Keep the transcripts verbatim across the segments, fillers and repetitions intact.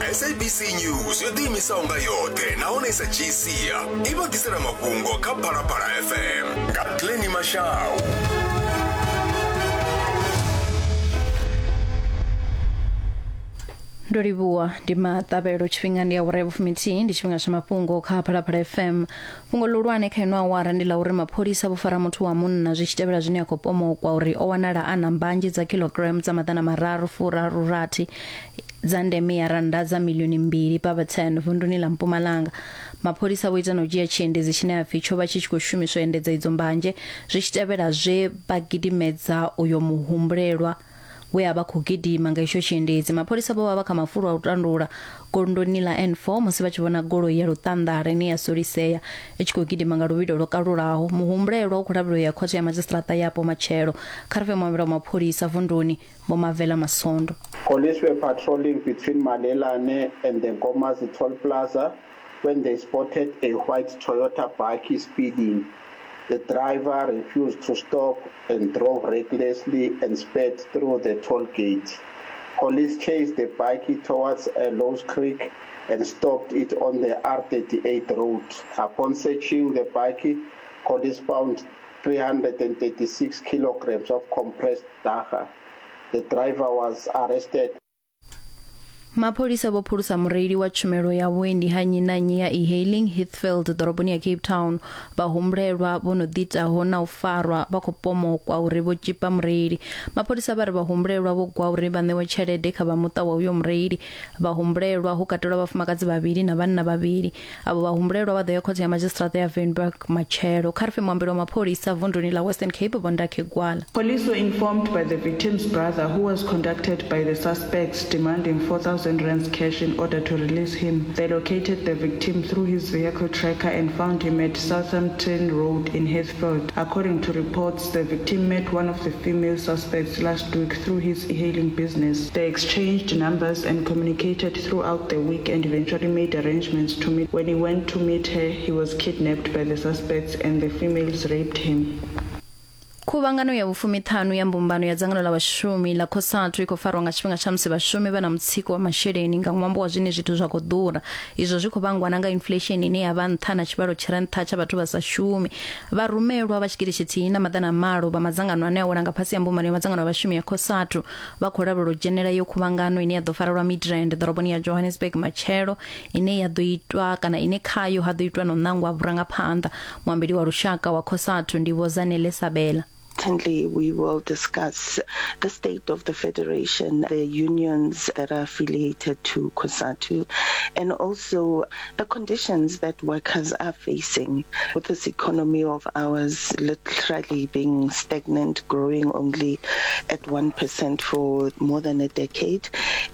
S A B C News yo ḓiimisaho nga yoṱhe nahone i sa dzhii sia i vha ḓisela mafhungo kha Phalaphala F M nga Glenny Mashau. Ndo livhuwa ndi maṱavhelo tshifhinga ndi awara ya vhufumithihi ndi tshifhinga tsha mafhungo kha Phalaphala F M. Fhungo ḽihulwane kha ino awara ndi ḽa uri mapholisa vho fara muthu wa munna zwi tshi tevhela zwine a khou pomokwa uri o wanala a na mbanzhe dza kilogram dza maḓana mararu furaru rathi dza ndeme ya rannda dza milioni mbili pavha ten vunduni ḽa Mpumalanga. Mapholisa vho ita na u dzhia tshiendedzi tshine ha pfi tsho vha tshi tshi khou shumiswa endedza idzo mbanzhe zwi tshi tevhela zwe vha gidimedza uyo muhumbulelwa we a vha khou gidima nga itsho tshiendedzi. Mapholisa vho vha vha kha mafulo a u tandula gondoni ḽa N four musi vha tshi vhona goloi ya luṱanḓala ine ya solisea i tshi khou gidima nga luvhilo lwo kalulaho. Muhumbulelwa u khou lavhelelwa ya khothe ya madzhisiṱiraṱa yapo matshelo. Kha ri fhe muambelo wa mapholisa vunduni Vho Mavela Masondo. Police were patrolling between Malelane and the Nkomazi Toll Plaza when they spotted a white Toyota bakkie speeding. The driver refused to stop and drove recklessly and sped through the toll gate. Police chased the bakkie towards a Lowe's Creek and stopped it on the R thirty-eight road. Upon searching the bakkie, police found three hundred thirty-six kilograms of compressed dagga. The driver was arrested. Mapholisa vho phulusa mureili wa tshumelo ya vhuendi ha nnyi na nnyi ya e-hailing Heathfield ḓoroboni ya Cape Town. Vhahumbulelwa vho no ḓiitaho na u farwa vha khou pomokwa uri vho tshipa mureili. Mapholisa vha ri vhahumbulelwa vho gwa uri vha ṋewe tshelede kha vha muṱa wa uyo mureili. Vhahumbulelwa hu katelwa vhafumakadzi vhavhili na vhanna vhavhili. Avho vhahumbulelwa vha ḓo ya khothe ya madzhisiṱiraṱa ya Wynberg matshelo. Kha ri fhe muambeli wa mapholisa vunduni ḽa Western Cape Vho Ndakhe Gwala. Police were informed by the victim's brother, who was contacted by the suspects demanding four thousand rands cash in order to release him. They located the victim through his vehicle tracker and found him at Southampton Road in Heathfield. According to reports, the victim met one of the female suspects last week through his e-hailing business. They exchanged numbers and communicated throughout the week and eventually made arrangements to meet. When he went to meet her, he was kidnapped by the suspects and the females raped him. Khuvhangano ya vhufumiṱhanu ya mbumbano ya dzangano ḽa vhashumi ḽa COSATU i khou farwa nga tshifhinga tsha musi vhashumi vha na mutsiko wa masheleni nga ṅwambo wa zwine zwithu zwa khou ḓura. Izwo zwi khou vhangwa na nga inflation ine ya vha nṱha na tshivhalo tshi re nṱha tsha vhathu vha sa shumi. Vharumelwa vha tshigidi tshithihi na maḓana malo vha madzangano ane a wela nga fhasi ya mbumbano ya madzangano a vhashumi ya COSATU vha khou lavhelelwa u dzhenela iyo khuvhangano ine ya ḓo farelwa Midrand ḓoroboni ya Johannesburg matshelo, ine ya ḓo itwa kana ine khayo ha ḓo itwa no nangwa vhurangaphanḓa. Muambeli wa lushaka wa COSATU ndi Vho Zanele Sabela. Certainly, we will discuss the state of the federation, the unions that are affiliated to COSATU, and also the conditions that workers are facing with this economy of ours literally being stagnant, growing only at one percent for more than a decade,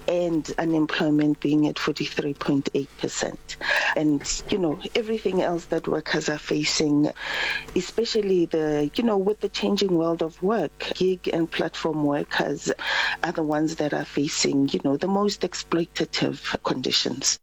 and unemployment being at forty-three point eight percent. And, you know, everything else that workers are facing, especially the, you know, with the changing world of work, gig and platform workers are the ones that are facing, you know, the most exploitative conditions.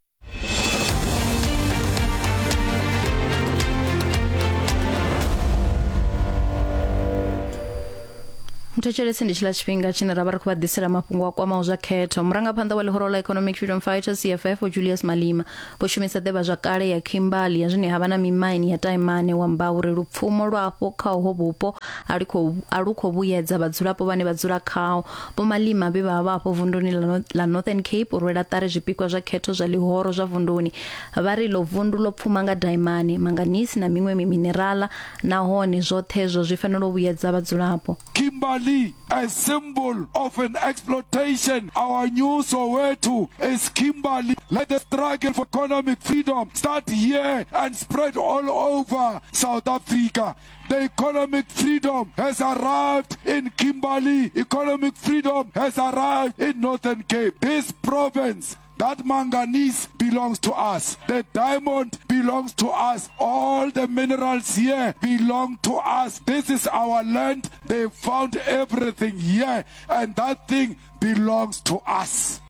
Mthetshelesi ndi tshila tshifhinga tshine ra vha ri khou vha ḓisela mafhungo a kwamaho zwa khetho. Murangaphanḓa wa ḽihoro ḽa Economic Freedom Fighters C F F Julius Malema vho shumisa ḓivhazwakale ya Kimberley ya zwine ha vha na mimaini ya Taimane wa amba uri lupfumo lwafho kha uho vhupo a lu khou a lu khou vhuyedza vhadzulapo vhane vha dzula khao. Vho Malema vhe vha vha afho vunduni ḽa Northern Cape u rwela ṱari zwipikwa zwa khetho zwa ḽihoro zwa vunduni. Vha ri ḽo vundu ḽo pfuma nga daimane, manganese na miṅwe miminerala, nahone zwoṱhe zwo zwi fanela u vhuyedza vhadzulapo. Kimberley, a symbol of an exploitation. Our new Soweto is Kimberley. Let the struggle for economic freedom start here and spread all over South Africa. The economic freedom has arrived in Kimberley. Economic freedom has arrived in Northern Cape. This province, that manganese belongs to us. The diamond belongs to us. All the minerals here belong to us. This is our land. They found everything here, and that thing belongs to us.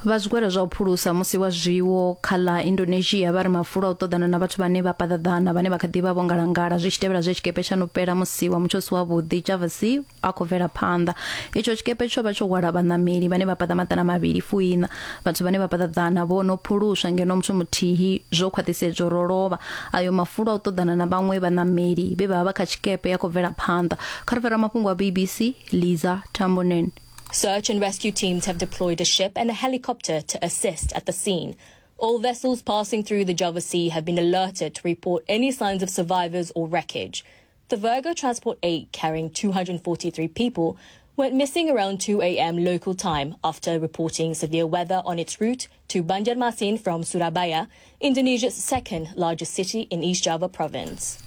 Vha zwigwada zwa u phulusa musi wa zwiwo kha ḽa Indonesia vha ri mafulo a u ṱoḓana na vhathu vhane vha paḓaḓana vhane vha kha ḓi vha vho ngalangala zwi tshi tevhela zwe tshikepe tsha no fhela musi wa mutsho u si wavhuḓi Java Sea a khou bvela phanḓa. Itsho tshikepe tsho vha tsho hwala vhaṋameli vhane vha paḓa maḓana mavhili fuiṋa. Vhathu vhane vha paḓaḓana vho no phuluswa ngeno muthu muthihi zwo khwaṱhisedzwa uri o lovha. Ayo mafulo a u ṱoḓana na vhaṅwe vhaṋameli vhe vha vha kha tshikepe ya khou bvela phanḓa. Kha ri fhira mafhungo a B B C, Liza Tambonen. Search and rescue teams have deployed a ship and a helicopter to assist at the scene. All vessels passing through the Java Sea have been alerted to report any signs of survivors or wreckage. The Virgo Transport eight, carrying two hundred forty-three people, went missing around two a m local time after reporting severe weather on its route to Banjarmasin from Surabaya, Indonesia's second largest city in East Java province.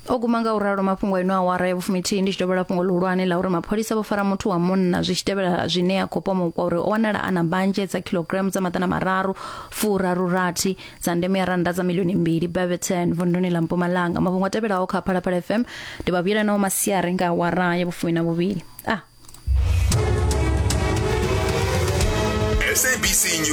O guma nga u ralo mafhungo ino awara ya vhufumithihi ndi tshi dovholola fhungo ḽihulwane ḽa uri mapholisa vho fara muthu wa munna zwi tshi tevhela zwine a khou pomokwa uri o wanala a na mbanzhe dza kilogramu dza maḓana mararu furaru rathi dza ndeme ya rannda dza milioni mbili Barberton vunduni ḽa Mpumalanga. Mafhungo a tevhelaho kha Phalaphala F M ndi vha vhuyelanaho masiari nga awara ya vhufumi na vhuvhili. Ah. S A B C News.